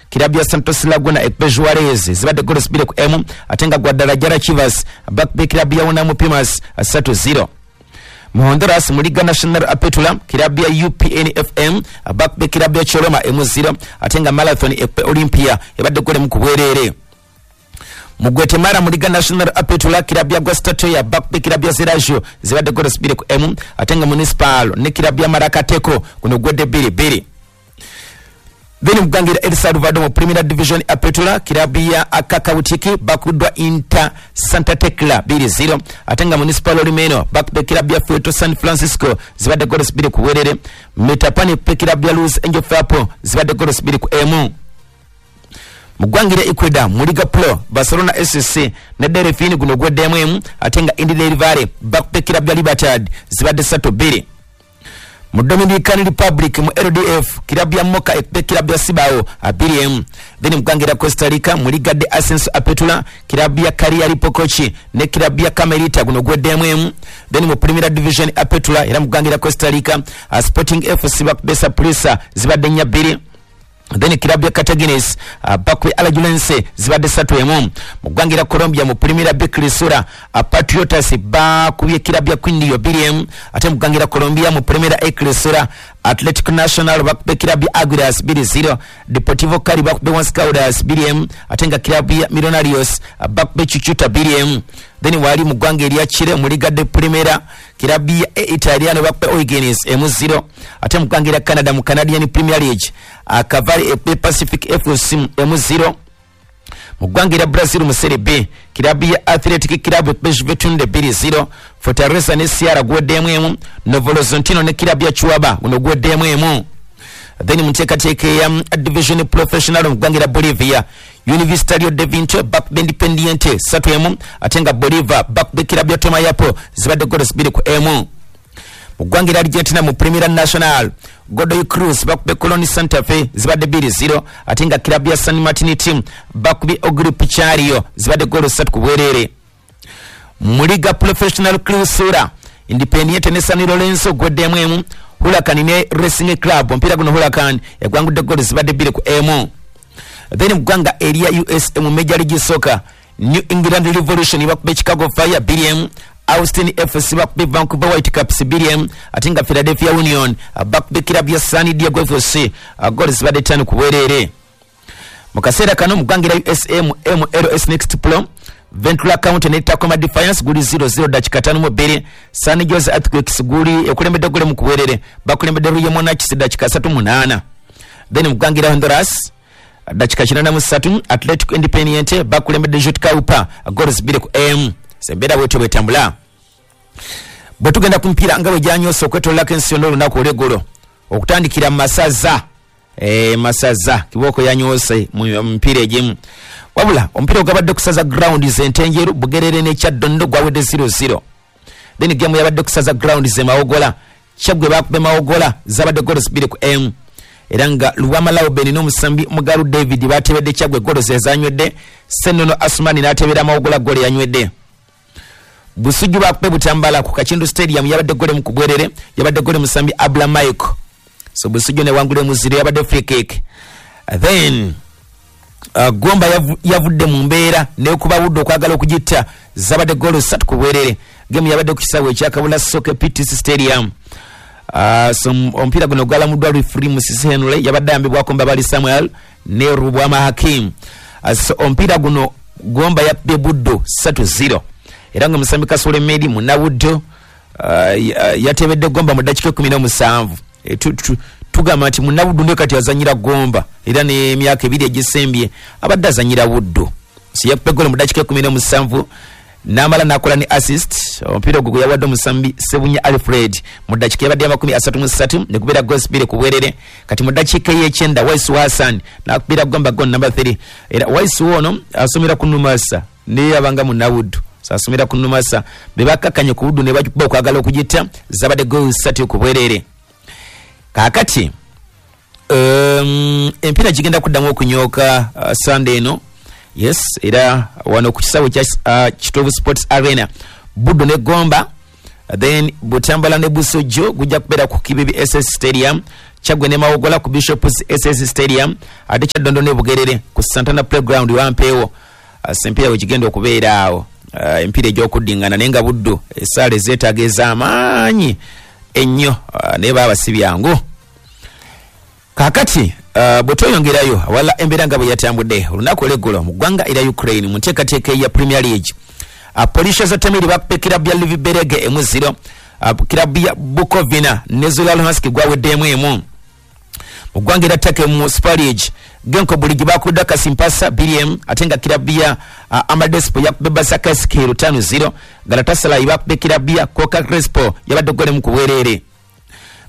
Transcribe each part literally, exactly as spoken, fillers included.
Kirabu ya Santos Laguna ekube Juarez zibadde goals bbiri ku emu, ate nga Guadalajara Chivas bakubye kirabu ya Unam Pumas ssatu zero. Mu Honduras mu Liga National Apertura, kirabu ya U P N F M bakubye kirabu ya Choloma emu zero, ate nga Marathon ekube Olympia ebadde gole mu kubwerere. Mu Guatemala mu Liga National Apertura, kirabu ya Guastatoya bakubye kirabu ya Sergio zibadde goals bbiri ku emu, ate nga Municipal ne kirabu ya Maracateko kuno gwedde bbiri bbiri. Then mugwangira El Salvador mu Primera Division Apertura, kirabu ya Akakautiki bakuddwa Inter Santa Tecla bbiri zero, ate nga Municipal Olimeno bakubye kirabu ya Puerto San Francisco zibadde goals bbiri ku bwerere. Metapani pe kirabu ya Luz Angel Fapo zibadde goals bbiri ku emu. Mugwangira Ecuador mu Liga Pro, Barcelona S C ne Delfín guno gweddemu emu, ate nga Indy del Valle bakubye kirabu ya Libertad zibadde ssatu bbiri. Mu Dominican Republic mu L D F, kirabu ya Moca ekube kirabu ya Cibao abiri emu. Then mugwangira Costa Rica mu Liga de Ascenso Apertura, kirabu ya Cariari Pocochi ne kirabu ya Camerita guno gweddemu emu. Then mu Primera Division Apertura era mugwangira Costa Rica, Sporting F C bakube Saprissa zibadde nnya bbiri. Then kirabu ya Cartaginés uh, bakwe Alajuelense zibadde ssatu emu. Mugwangira Colombia mu Primera B Crisura, uh, Patriotas bakubye kirabu ya Quindio bbiri emu. Ate mugwangira Colombia mu Primera A Crisura, Atletico Nacional bakubye kirabu ya Aguilas bbiri zero, Deportivo Cali bakubye Once Caldas bbiri emu, ate nga kirabu ya Millonarios uh, bakubye Chuchuta bbiri emu. Then wali mugwanga erya Chile mu Liga de Primera, kirabu ya Italiano bakubye O'Higgins emu zero. Ate mugwangira Canada mu Canadian Premier League, uh, Cavalry ekubye Pacific F C emu zero. Mugwangira Brazil mu Serie B, kirabu ya Athletic Club ekubye Juventude bbiri zero, Fortaleza ne Ceará gweddemu emu, Novo Horizontino ne kirabu ya Chuaba guno gweddemu emu. Then mu nteekateeka eya Division Professional mugwangira Bolivia, Universitario de Vinto bakubye Independiente ssatu emu, ate nga Bolivar bakubye kirabu ya Tomayapo zibadde goals bbiri ku emu. Mugwangira Argentina mu Primera Nacional, Godoy Cruz bakubye Colón Santa Fe zibadde bbiri zero, ate nga kirabu ya San Martin team bakubye Ogri Pichario zibadde goals ssatu ku bwerere. Mu Liga Professional Clausura, Independiente ne San Lorenzo gweddemu emu, Huracan ne Racing Club omupiira guno Huracan egwangudde goals zibadde bbiri ku emu. Then mugwanga erya U S mu Major League Soccer, New England Revolution bakubye Chicago Fire bbiri emu, Austin F C bakubye Vancouver Whitecaps bbiri emu, ate nga Philadelphia Union bakubye kirabu ya San Diego F C goals zibadde ttaano ku bwerere. Mu kaseera kano mugwangira U S M M L S Next Pro, Ventura County ne Tacoma Defiance guli zero zero dakika ttaano mu bbiri, San Jose Earthquakes guli ekulembedde gole mu kuwerere bakulembedde Royal Monarchs dakika ssatu munaana. Then mugwangira Honduras dakika kinaana mu ssatu, Atletico Independiente bakulembedde Juticalpa goals bbiri ku emu. Sembeera bwetyo bwetambula. Bwe tugenda ku mpiira nga bwe gyanyoose okwetoololako ensi yonna olunaku olw'eggulo, okutandikira mu masaza, eh, masaza kibooko yanyoose mu mipiira egimu. Wabula omupiira ogwabadde kusaza ground z'Entenjeru, Bugerere ne Kyaddondo gwawedde zero zero. Then game yabadde kusaza ground ze Mawogola, Kyaggwe bakubye Mawogola zabadde goals bbiri ku emu. Era nga Luwama Lauben n'omusambi Mugalu David batebedde Kyaggwe goals ezanywedde, Ssennono Asumani n'atebera Mawogola goal yanywedde. Busujju bakubye Butambala ku Kakindu Stadium yabadde gole mu kubwerere, yabadde gole musambi Abla Michael. So Busujju ne wangule muzire yabadde free kick. Then uh, Gomba yavudde mu mbeera n'ekuba Buddo okwagala okugitta zabadde goal ssatu ku bwerere. Game yabadde ku kisaawe ekya Kabula Soccer P T C Stadium. Uh, so omupiira guno gwalamuddwa referee Musisi Henry, yabadde ayambibwako Mbabali Samuel ne Rubwama Hakim. Uh, so omupiira guno Gomba yakubye Buddo ssatu zero. Era nga musambi Kasule Medi munnabuddo uh, yatebedde Gomba mu ddakiika ekkumi n'omusanvu. E, tugamba nti munnabuddo ndio kati azanyira Gomba era n'emyaka ebiri egisembye abadde azanyira Buddo. So yakubye ggoolo mu ddakiika ekkumi n'omusanvu n'amala n'akola ne assist. Omupiira ogwo gwe yawadde omusambi Ssebunya Alfred mu ddakiika yabadde amakumi asatu mu ssatu ne gubeera goals bbiri ku bwerere. Kati mu ddakiika ey'ekyenda Waisu Hassan n'akubira Gomba goal number three. Era Waisu ono asomera ku Numasa naye abanga munnabuddo. Asomera ku Numasa be bakkakkanye ku Buddo ne bagikuba okwagala okugitta zabadde goals ssatu ku bwerere. Kaakati um, empiira gigenda kuddamu okunyooka uh, Sunday eno. Yes, era wano ku kisaawe kya uh, Kitovu Sports Arena Buddo ne Gomba Then Butambala ne Busujju gujja kubeera ku Kibibi S S Stadium, Kyaggwe ne Mawogola ku Bishops S S Stadium, ate Kyaddondo ne Bugerere ku Santana Playground Wampeewo. Sempiira we kigenda okubeera awo, uh, empiira egy'okuddingana, naye nga Buddu essaala ezeetaaga ez'amaanyi ennyo, uh, naye baaba si byangu. Kaakati uh, bwe tweyongerayo awalala, embeera nga bwe yatambudde olunaku olw'eggulo mu ggwanga erya Ukraine mu nteekateeka eya Premier League, uh, Polisha Zatemiri bakuba kirabu ya Lviv Berege emu zero, uh, kirabu ya Bukovina ne Zula Luhansk gwaweddemu emu. Mu ggwanga erya Turkey mu Super League, Genko Buligi bakudda Kasimpasa bbiri emu, ate nga kirabu ya uh, Amadespo yakubye Basakeskir ttaano zero, Galatasaray bakubye kirabu ya Coca Crespo yabadde golemu ku bwereere.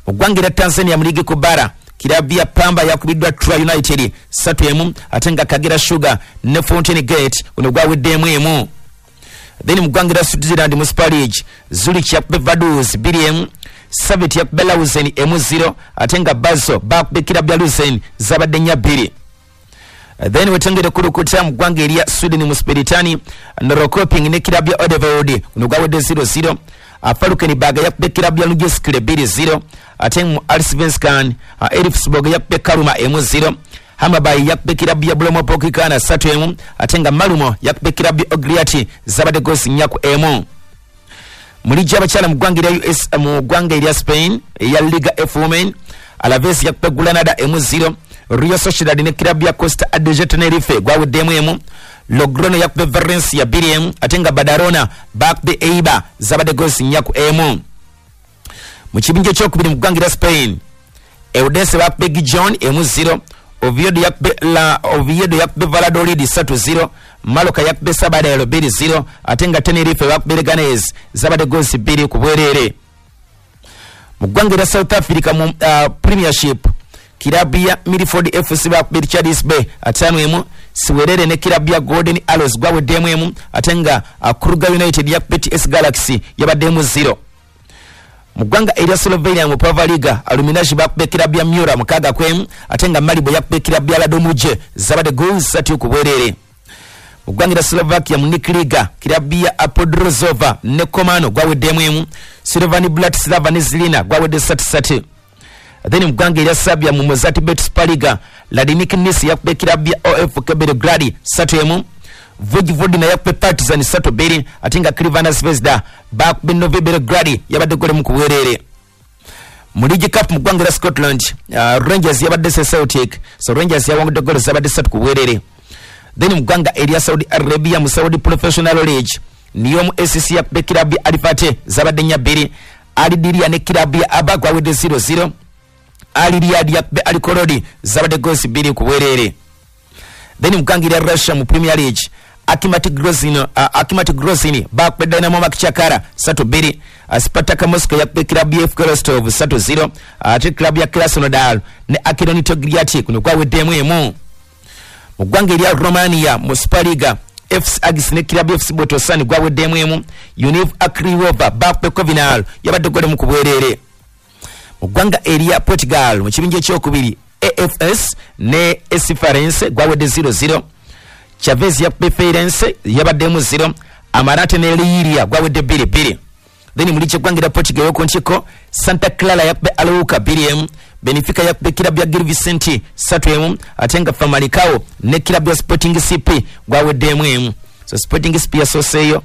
Mu ggwanga erya Tanzania mu ligi ku bara, kirabu ya Pamba yakubiddwa Tra United ssatu emu, ate nga Kagera Sugar ne Fountain Gate guno gwaweddemu emu. Then mu ggwanga erya Switzerland mu Super League, Zurich yakubye Vaduz bbiri emu, Servette yakubye Lausanne emu zero, ate nga Basel bakubye kirabu ya Luzern zabadde nnya bbiri. Then wetengere kulukuta mu ggwanga erya Sweden mu Spiritani, Norrköping ne kirabu ya Odevold guno gwawedde zero zero, Falkenberg yakubye kirabu ya Lujeskile bbiri zero, ate mu Allsvenskan Elfsborg yakubye Kalmar emu zero, Hammarby yakubye kirabu ya Brommapojkarna ssatu emu, ate nga Malmö yakubye kirabu ya Ogriati zabadde goals nnya ku emu. Mu ligi y'abakyala mu ggwanga erya U S, mu ggwanga erya Spain eya Liga F Women, Alaves yakubye Granada emu zero, Real Sociedad ne kirabu ya Costa Adeje Tenerife gwaweddemu emu, Logrono yakubye Valencia bbiri emu, ate nga Badalona bakubye Eibar zabadde goals nnya ku emu. Mu kibinja ekyokubiri mu ggwanga erya Spain, Eldense bakubye Gijon emu zero, Oviedo yakubye la Oviedo yakubye Valladolid ssatu zero, Mallorca yakubye Sabadell bbiri zero, ate nga Tenerife bakubye Leganes zabadde goals bbiri ku bwereere. Mu ggwanga erya South Africa mu uh, Premiership, kirabu ya Milford F C bakubye Richards Bay ataano emu, Siwerere ne kirabu ya Golden Arrows gwaweddemu emu, ate nga uh, Kruger United yakubye T S Galaxy yabaddemu zero. Mu ggwanga erya Slovenia mu Prva Liga, Aluminaj bakubye kirabu ya Mura mukaaga ku emu, ate nga Maribor yakubye kirabu ya Radomuje zabadde goals ssatu ku bwereere. Mu ggwanga erya Slovakia mu Nik Liga, kirabu ya Apodrozova ne Komano gwaweddemu emu, Slovan Bratislava ne Zilina gwawedde ssatu ssatu. Then mu ggwanga erya Serbia mu Mozart Super Liga, Radnik Nis yakubye kirabu ya O F K Belgrade ssatu emu, Vojvodina yakubye Partizan ssatu bbiri, ate nga Crvena Zvezda bakubye Novi Belgrade yabadde golemu ku bwereere. Mu League Cup mu ggwanga erya Scotland, uh, Rangers yabadde Celtic, so Rangers yawangudde goolo zabadde ssatu ku bwereere. Then mu ggwanga erya Saudi Arabia mu Saudi Professional League, Neom S C yakubye kirabu ya Al Fateh zabadde nnya bbiri, Al Diria ne kirabu ya Aba gwawedde zero zero, Al Riyadh yakubye Al Korodi zabadde goals bbiri ku bwereere. Then mu ggwanga erya Russia mu Premier League, Akimat Grozny, uh, Akimat Grozny bakubye Dynamo Makchakara ssatu bbiri, uh, Spartak Moscow yakubye kirabu ya F K Rostov ssatu zero, ate uh, kirabu ya Krasnodar ne Akron Togliatti kuno gwaweddemu emu. Mu ggwanga erya Romania mu Super Liga, F C Agis ne kirabu ya F C Botosan gwaweddemu emu, Univ Akriwova bakubye Kovinal yabadde golemu ku bwereere. Mu ggwanga erya Portugal mu kibinja ekyokubiri, A F S ne S Farense gwawedde zero zero, Chavez yakubye Feirense yabaddemu zero, Amarante ne Liria gwawedde bbiri bbiri. Then mu ligi y'eggwanga erya Portugal ey'oku ntikko, Santa Clara yakubye Arouca bbiri emu, Benfica yakubye kirabu ya Gil Vicente ssatu emu, ate nga Famalicão ne kirabu ya Sporting C P gwaweddemu emu. So Sporting C P yasooseeyo,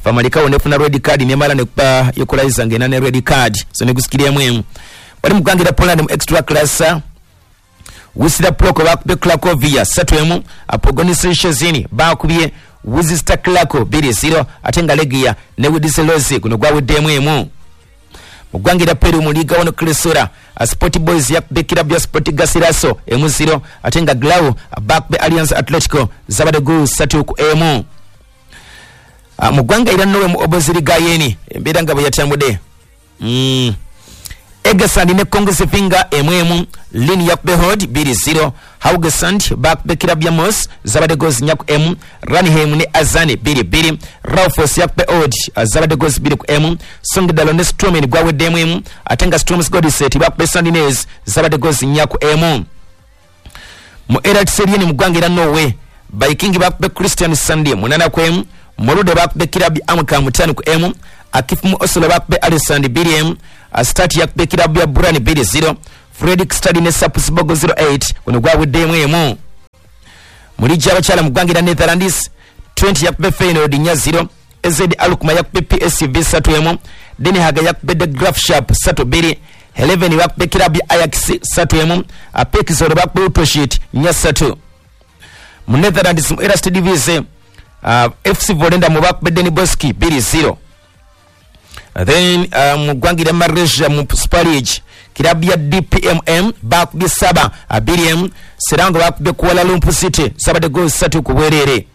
Famalicão nefuna red card nemala nekuba equalizer ng'erina ne red card, so negusikiremu emu. Bali mu ggwanga erya Poland mu extra class, Wisla Plock bakubye Cracovia ssatu emu, Pogoń Szczecin bakubye Wisła Kraków bbiri zero, ate nga Legia ne Wisła guno gwaweddemu emu. Mu ggwanga erya Peru mu Liga One Cresora, Sport Boys yakubye kirabu ya Sport Garcilaso emu zero, ate nga Grau bakubye Alliance Atletico zabadde goals ssatu ku emu. Mu ggwanga erya Norway mu Oboziriga yeni embeera nga bwe yatambudde. Mm. Egersund ne Kongsvinger emu emu, Lyn yakubye Hod bbiri zero, Haugesund bakubye kirabu ya Moss zabadde goals nnya ku emu, Ranheim ne Azane bbiri bbiri, Raufoss yakubye Odd zabadde goals bbiri ku emu, Sogndal ne Strømmen gwaweddemu emu, ate nga Strømsgodset bakubye Sandnes zabadde goals nnya ku emu. Mu Eliteserien mu ggwanga erya Norway, Viking bakubye Kristiansand munana ku emu, Molde bakubye kirabu ya Amka mutaano ku emu, Akifumu Oslo bakube Alisand bbiri emu, Start yakube kirabu ya Brann bbiri zero, Fredrikstad ne Sarpsborg zero eight guno gwaweddemu emu. Mu liigi y'abakyala mu ggwanga erya Netherlands, Twente yakube Feyenoord nnya zero, A Z Alkmaar yakube P S V ssatu emu, Den Haag yakube De Graafschap ssatu bbiri, Heerenveen bakube kirabu ya Ajax ssatu emu, P E K Zwolle bakube Utrecht nnya ssatu. Mu Netherlands mu Eerste Divisie, uh, F C Volendam bakube Den Bosch bbiri zero. Then uh, mu ggwanga erya Malaysia mu Super League, kirabu ya D P M M bakubye saba bbiri emu, Selangor bakubye Kuala Lumpur City zabadde goals ssatu ku bwereere.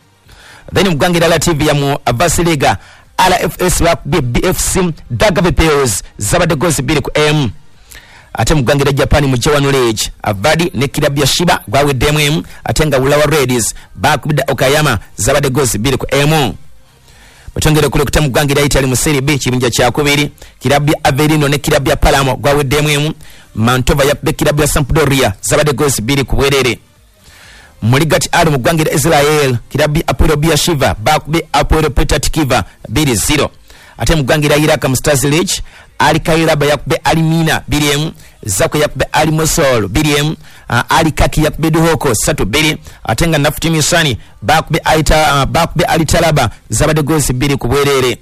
Then mu ggwanga erya Latvia mu Vasiliga, R F S bakubye B F C Daugavpils zabadde goals bbiri ku emu. Ate mu ggwanga erya Japan mu J one League, Avadi ne kirabu ya Shiba gwaweddemu emu, ate nga Urawa Reds bakubye Okayama zabadde goals bbiri ku emu. Bwetwongera okulekuta mu ggwanga erya Italy mu Serie B kibinja kyakubiri, kirabu ya Avellino ne kirabu ya Palermo gwaweddemu emu, Mantova yakubye kirabu ya Sampdoria zabadde goals bbiri ku bwereere. Mu Ligat R mu ggwanga erya Israel, kirabu ya Hapoel Beersheva bakubye Hapoel Petah Tikva bbiri zero. Ate mu ggwanga erya Iraq mu Stars League, Al Kairaba yakubye Al Mina bbiri emu, Zako yakubye Al Mosul bbiri emu, Al Kaki yakubye Duhoko ssatu bbiri, ate nga Nafuti Misani bakubye Aita, bakubye Al Talaba zabadde goals bbiri ku bwereere.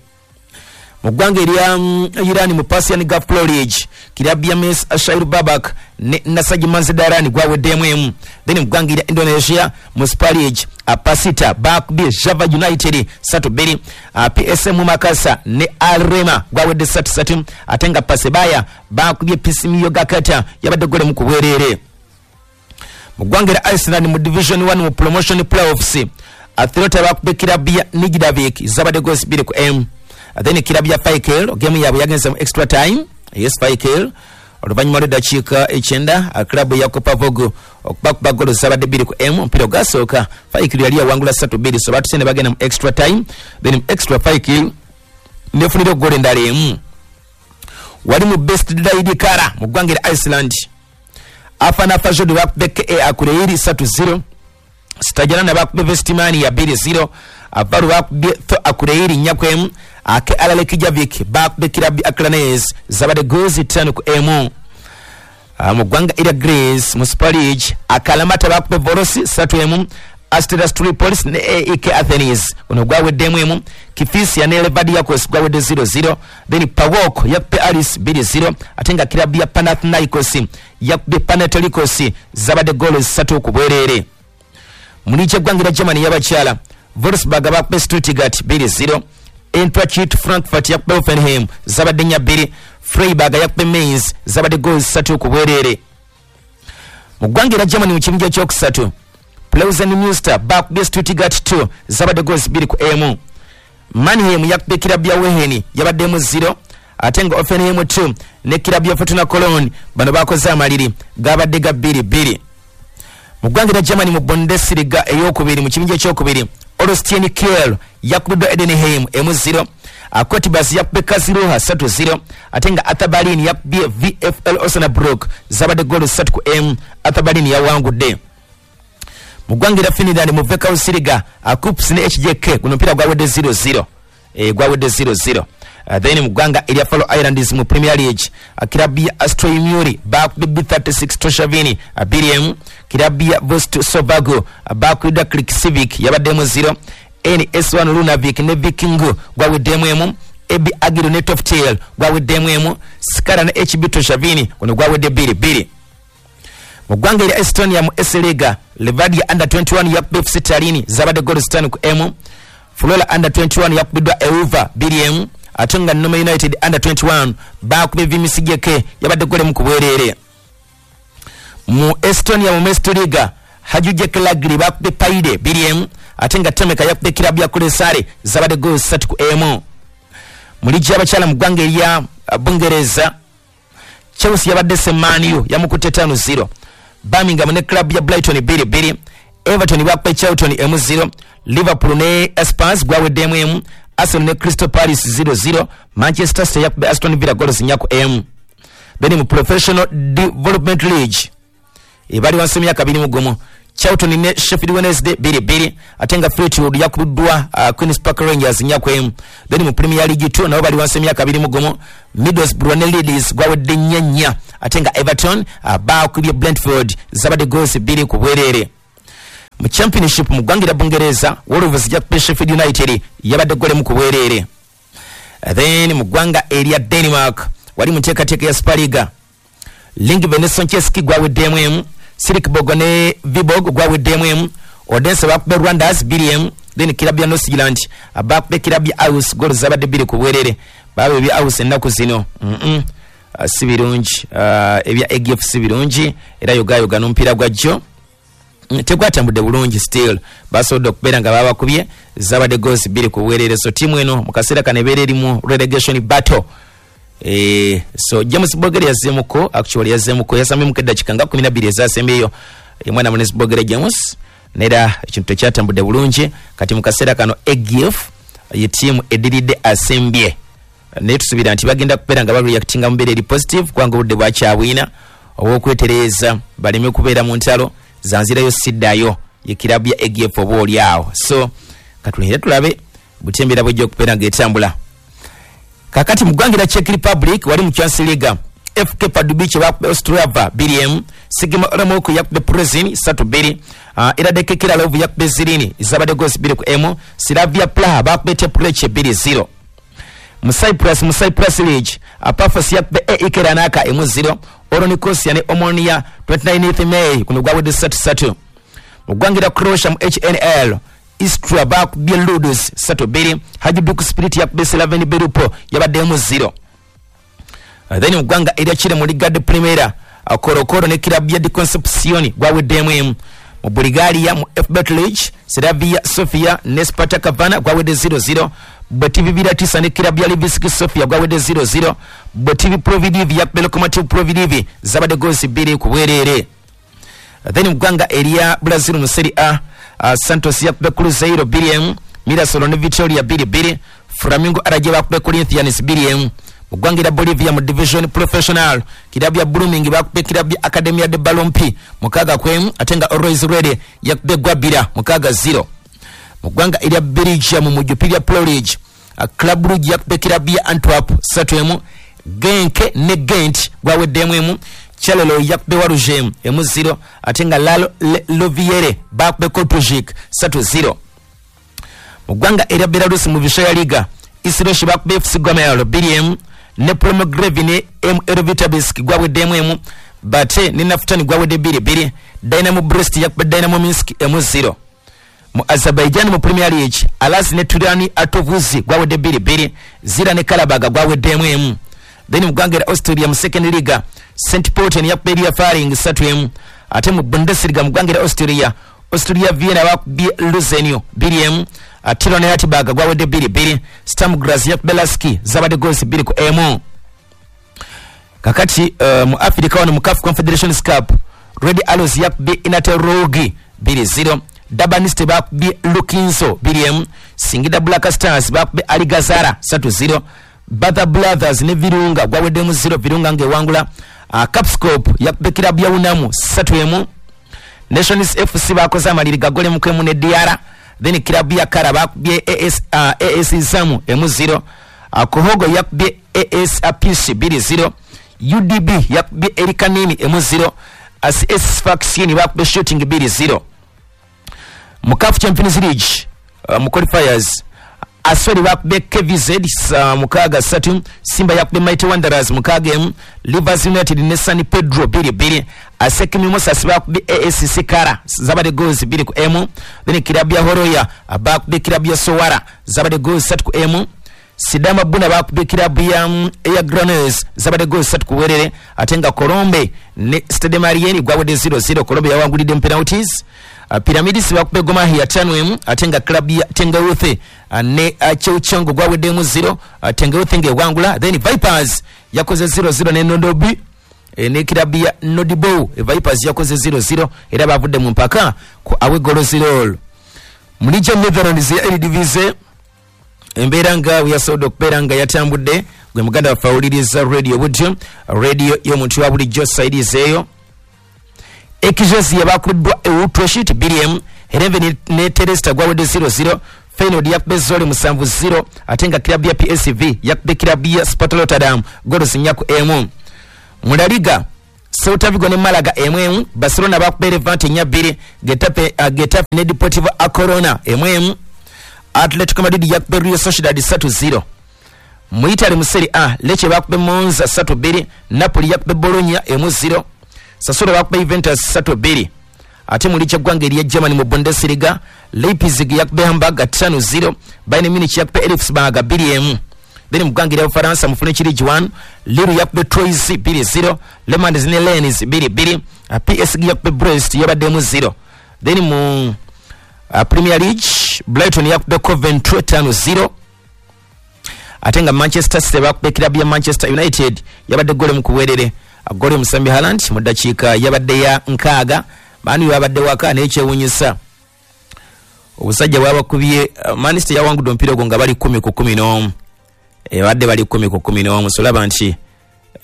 Mu ggwanga erya Iran mu Persian Gulf Pro League, kirabu ya Mes Ashair Babak ne Nassaji Mazandaran gwaweddemu emu. Then mu ggwanga erya Indonesia mu Super League, Pasita bakubye Java United ssatu bbiri, P S M Makassar ne Arema gwawedde ssatu ssatu, ate nga Pasebaya bakubye P C M Yogyakarta yabadde gole mu ku bwereere. Mu ggwanga erya Iceland mu Division one mu Promotion Playoffs, Atlanta bakubye kirabu ya Nijdavik zabadde goals bbiri ku emu. Then kirabu ya Faikel game yaabwe yagenze mu extra time. Yes, Faikel oluvannyuma lw'eddakiika ekyenda klabu ya Kopavogo okubakuba golo zabadde bbiri ku emu. Omupiira ogwasooka Faikel yali yawangula ssatu bbiri, so baatuse ne bagenda mu extra time. Then mu extra Faikel nefunira goolo endala emu. Wali mu Best Dailikara mu ggwanga erya Iceland, Afana Fajod bakubye K A Akureyri ssatu zero, Stajanana bakubye Vestmannaeyjar bbiri zero, Avaru bakubye Tho Akureyri nnya ku emu, Ake Alale Kijavik bakubye kirabu ya Akranes zabadde goals ttaano ku emu. Mu ggwanga erya Greece mu Super League, Akalamata bakubye Volos ssatu emu, Asteras Tripolis ne A E K Athens guno gwaweddemu emu, Kifisia ne Levadiakos gwawedde zero zero, then Pawok yakubye Aris bbiri zero, ate nga kirabu ya Panathinaikos yakubye Panathinaikos zabadde goals ssatu ku bwereere. Mu liigi y'eggwanga erya Germany y'abakyala, Wolfsburg bakubye Stuttgart bbiri zero, Eintracht Frankfurt yakubye Hoffenheim zabadde nnya bbiri, Freiburg yakubye Mainz zabadde goals ssatu ku bwereere. Mu ggwanga erya Germany mu kibinja ekyokusatu, Pleusen Münster bakubye Stuttgart two zabadde goals bbiri ku emu, Mannheim yakubye kirabu ya Wehen yabaddemu zero, ate nga Hoffenheim two ne kirabu ya Fortuna Cologne bano bakoze amaliri gabadde ga bbiri bbiri. Mu ggwanga erya Germany mu Bundesliga eyokubiri mu kibinja ekyokubiri, Holstein Kiel yakubiddwa Edenheim emu zero, Cottbus yakubye Karlsruhe ssatu zero, ate nga Hertha Berlin yakubye V F L Osnabrück zabadde goolo ssatu ku emu, Hertha Berlin yawangudde. Mu ggwanga erya Finland mu Veikkausliiga, Kups ne H J K guno omupiira gwawedde zero zero, eh gwawedde zero zero. Then mu ggwanga erya Faroe Islands mu Premier League, kirabu ya Astroymiuri bakubye B thirty-six Toshavini bbiri emu, kirabu ya Vostovago bakubiddwa Krikivik yabaddemu zero, N S one Lunavik ne Vikingu gwaweddemu emu, A B Agiro ne Toftail gwaweddemu emu, Skara ne H B Toshavini guno gwawedde bbiri bbiri. Mu ggwanga erya Estonia mu S-Liga, Levadia under twenty-one yakubye F C Tallinn zabadde goals ttaano ku emu, Flora under twenty-one yakubiddwa Euva bbiri emu, ate nga Nome United under twenty-one bakubye Vimisijeke yabadde gole mu ku bwereere. Mu Estonia mu Meistriliiga, Hajujek Lagri bakubye Paide bbiri emu, ate nga Temeka yakubye kirabu ya Kuressaare zabadde goals ssatu ku emu. Mu liigi y'abakyala mu ggwanga erya Bungereza, Chelsea yabadde Semaniyo yamukutte ttaano zero, Birmingham ne club ya Brighton bbiri bbiri, Everton bakubye Charlton emu zero, Liverpool ne Spurs gwaweddemu emu, Arsenal ne Crystal Palace zero zero, Manchester City yakubye Aston Villa goals nnya ku emu. Then mu Professional Development League ebali wansi emyaka abiri mu gumu, Charlton ne Sheffield Wednesday bbiri bbiri, ate nga Fleetwood yakubiddwa uh, Queens Park Rangers nnya ku emu. Then mu Premier League two nabo bali wansi emyaka abiri mu gumu, Middlesbrough ne Leeds gwawedde nnya nnya, ate nga Everton uh, bakubye Brentford zabadde goals bbiri ku bwereere. Mu Championship mu ggwanga lya Bungereza, Wolves yakubye Sheffield United yabadde golemu ku bwereere. Then mu ggwanga erya Denmark wali mu nteekateeka ya Superliga, Lyngby ne Soncheski gwaweddemu emu, Silkeborg ne Viborg gwaweddemu emu, Odense bakubye Rwanders bbiri emu, then kirabu ya Nordsjælland bakubye kirabu ya Aarhus goals zabadde bbiri ku bwereere. Baaba ebya Aarhus ennaku zino mm -mm. Uh, si birungi, uh, ebya A G F si birungi, era yogayoga n'omupiira gwa jjo tegwatambudde bulungi, still basobodde okubeera nga babakubye zabadde goals bbiri ku bwereere. So ttiimu eno mu kaseera kano ebeera eri mu relegation battle. Eh, so James Bogere yazzeemuko, actually yazzeemuko, yasambyemu eddakiika nga kkumi na bbiri ezasembyeyo omwana Munezi Bogere James, nera ekintu tekyatambudde bulungi. Kati mu kaseera kano A G F ye ttiimu ediridde asembye, naye tusuubira nti bagenda kubeera nga bareactinga mu mbeera eri positive, kubanga obudde bwakyabwina obw'okwetereeza baleme kubeera mu ntalo zanzirayo siddayo ye kirabu ya A G F oba oli awo. So katulinde tulabe butya embeera bwejja okubeera ng'etambula. Kakati mu ggwanga lya Czech Republic wali mu Champions League, F K Pardubice bakubye Ostrava bbiri emu, Sigma Olomouc yakubye Plzeň ssatu bbiri, uh, Hradec Králové yakubye Zlín zabadde goals bbiri ku emu, Slavia Praha bakubye Teplice bbiri zero. Mu Cyprus, mu Cyprus League, Pafos yakubye A E K Larnaca emu zero, Olonikosia ne Omonia twenty-ninth May kuno gwawedde ssatu ssatu. Mu ggwanga lya Croatia mu H N L, Istra bakubye Ludus ssatu bbiri, Hajduk Split yakubye Slaven Belupo yabadde emu zero. Uh, then mu ggwanga erya Chile mu Liga de Primera, uh, Colo-Colo ne kirabu ya de Concepcion gwaweddemu emu. Mu Bulgaria mu F Bet League, Slavia Sofia ne Spartak Varna gwawedde zero zero, Botev Viratisa ne kirabu ya Levski Sofia gwawedde zero zero, Botev Plovdiv yakubye Lokomotiv Plovdiv zabadde goals bbiri ku bwereere. Then mu ggwanga erya Brazil mu Serie A, uh, Santos yakubye Cruzeiro bbiri emu, Mirassol ne Vitória bbiri bbiri, Flamengo R J bakubye Corinthians bbiri emu. Mu ggwanga erya Bolivia mu Division Professional, kirabu ya Blooming bakubye kirabu ya Academia de Balompi mukaaga ku emu, ate nga Always Ready yakubye Guabira mukaaga zero. Mu ggwanga erya Belgium mu Jupiler Pro League, uh, Club Brugge yakubye kirabu ya Antwerp ssatu emu, Genk ne Gent gwaweddemu emu, Charleroi yakubye Waregem emu zero, ate nga Lalo Loviere bakubye Kortrijk ssatu zero. Mu ggwanga erya Belarus mu Vysshaya Liga, Isrosh bakubye F C Gomel bbiri emu, ne Promogrevi ne M L Vitebsk gwaweddemu emu, Bate ne Naftani gwawedde bbiri bbiri, Dynamo Brest yakubye Dynamo Minsk emu zero. Mu Azerbaijan mu Premier League, Alas ne Turani Atovuzi gwawedde bbiri bbiri, Zira ne Karabaga gwaweddemu emu. Then mu ggwanga erya Austria mu Second Liga, Saint Pölten yakubye Ria Faring ssatu emu, ate mu Bundesliga mu ggwanga erya Austria, Austria Vienna bakubye Luzernio bbiri emu, Tirol ne Hartberg gwawedde bbiri bbiri, Sturm Graz yakubye Lask zabadde goals bbiri ku emu. Kakati uh, mu Africa wano mu CAF Confederations Cup, Red Arrows yakubye Inaterogi bbiri zero, Durban City bakubye Lukinzo bbiri emu, Singida Black Stars bakubye Ali Gazara ssatu zero, Batha Brothers ne Virunga gwaweddemu zero, Virunga ng'ewangula. Uh, Capscope yakubye kirabu ya Unamu ssatu emu, Nations F C bakoze amaliri gagole mu kwemu ne D R, then kirabu ya Kara bakubye A S, uh, A S Zamu emu zero, uh, Kohogo yakubye A S P C bbiri zero, U D B yakubye Erikanini emu zero, S S Vaccine bakubye Shooting bbiri zero. Mu CAF Champions League uh, mu qualifiers, Asweri bakubye K V Z uh, mukaaga ssatu, Simba yakubye Mighty Wanderers mukaaga emu, Rivers United ne San Pedro bbiri bbiri, Asec Mimosas bakubye A S C Kara zabadde goals bbiri ku emu, then kirabu ya Horoya bakubye kirabu ya Sowara zabadde goals ssatu ku emu, Sidama Buna bakubye kirabu ya Air Granes zabadde goals ssatu ku bwerere, ate nga Colombe ne Stade Malien gwawedde zero zero, Colombe yawangulidde mu penalties. Uh, Pyramids bakubye Gor Mahia ttaano emu, ate nga club ya Tengewuthe uh, ne uh, Cheuchongo gwaweddemu zero, uh, Tengewuthe ng'ewangula. Then Vipers yakoze zero zero ne Nondobi e, ne club ya Nodibo. E, Vipers yakoze zero zero era bavudde mu mpaka ku away goal zero. Mu Liga Netherlands ya Eredivisie, embeera nga yasobodde okubeera nga yatambudde gwe muganda waffe awuliriza radio butyo, radio y'omuntu wa bulijjo saidizeeyo. Excelsior bakubiddwa Utrecht bbiri emu, Heerenveen ne Telstar gwawedde zero zero, Feyenoord yakubye Zwolle musanvu zero, ate nga club ya P S V yakubye club ya Sparta Rotterdam goals nnya ku emu. Mu La Liga, Celta Vigo ne Malaga emu emu, Barcelona bakubye Levante nnya bbiri, Getafe, uh, Getafe ne Deportivo A Corona emu emu, Atletico Madrid yakubye Real Sociedad ssatu zero. Mu Italy mu Serie A, Lecce bakubye Monza ssatu bbiri, Napoli yakubye Bologna emu zero, Sassuolo bakubye Juventus ssatu bbiri. Ate mu liigi y'eggwanga erya Germany mu Bundesliga, Leipzig yakubye Hamburg ttaano zero, Bayern Munich yakubye Elfsberg bbiri emu. Then mu ggwanga erya Bufalansa mu French Ligue one, Lille yakubye Troyes bbiri zero, Le Mans ne Rennes bbiri bbiri, P S G yakubye Brest yabadde emu zero. Then mu uh, Premier League, Brighton yakubye Coventry ttaano zero, ate nga Manchester City bakubye club ya Manchester United yabadde gole mu kuwerere, gole musambi Haaland mu ddakiika yabadde ya nkaaga. Manu yabadde waka naye kyewuunyisa obusajja bwabakubye. uh, Man City yawangudde omupiira ogwo nga bali kumi ku kumi n'omu, ebadde bali kumi ku kumi n'omu, so olaba nti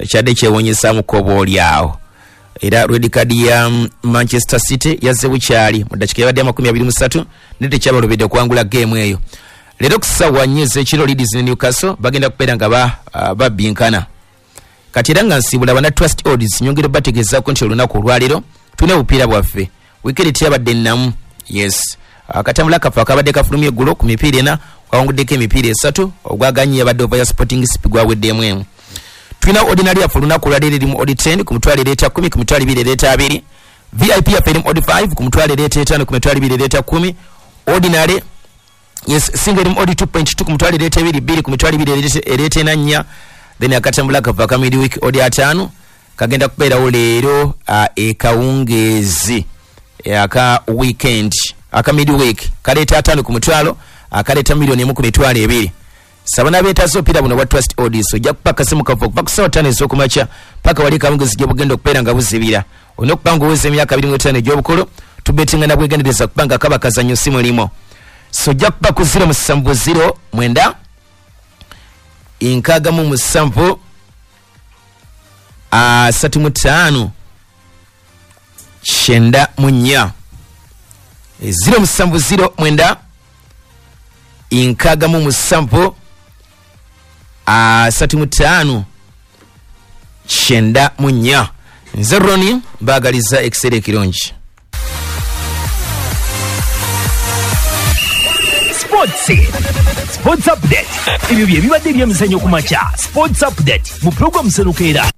kyadde kyewuunyisaamuko oba oli awo. Era red card ya Manchester City yazze bukyali mu ddakiika yabadde amakumi abiri mu ssatu, naye tekyabalobedde okuwangula geemu eyo. Leero ku ssaawa nnya ez'ekiro, Leeds ne Newcastle bagenda kubeera nga ba, uh, babbinkana. Kati era nga nsiibula bana Trust Odds, nyongera bategeezaako nti olunaku olwaleero tulina obupiira bwaffe. Wiikendi teyabadde nnamu, yes. Akatambula kaffe akabadde kafulumye eggulo ku mipiira ena, kwawanguddeko emipiira esatu, ogwaganye yabadde ova ya Sporting C P gwaweddemu emu. Tulina ordinary yaffe olunaku olwaleero eri mu odd ten ku mitwalo ereeta kkumi, ku mitwalo ebiri ereeta abiri. V I P yaffe eri mu odd five ku mitwalo ereeta etaano, ku mitwalo ebiri ereeta kkumi. Ordinary, yes, single eri mu odd two point two ku mitwalo ereeta ebiri bbiri, ku mitwalo ebiri ereeta ena nnya. Then akatambula kaffe aka midweek odd ataano kagenda kubeerawo leero uh, ekawungeezi aka weekend aka midweek kaleeta ataano ku mutwalo, akaleeta milioni emu ku mitwalo ebiri. Saba n'abeetaaze obupiira buno bwa Trust Odds, ojja kupa akasimu kaffe okuva ku ssaawa ttaano ez'okumakya paka wali kawungeezi gye bugenda okubeera nga buzibira. Olina okuba ng'oweza emyaka abiri mu etaano egy'obukulu, tubetinga na bwegendereza kubanga kaba kazannyo si mulimu. So ojja kuba ku zero musanvu zero mwenda nkaaga mu musanvu asatu mu ttaano kyenda mu nnya, zero musanvu zero mwenda nkaaga mu musanvu asatu mu ttaano kyenda mu nnya. Nze Ronnie, mbaagaliza ekiseera ekirungi. Sports Sports Update. Ebyo bye bibadde ebyemizannyo ku makya. Sports Update mu program Senukeera.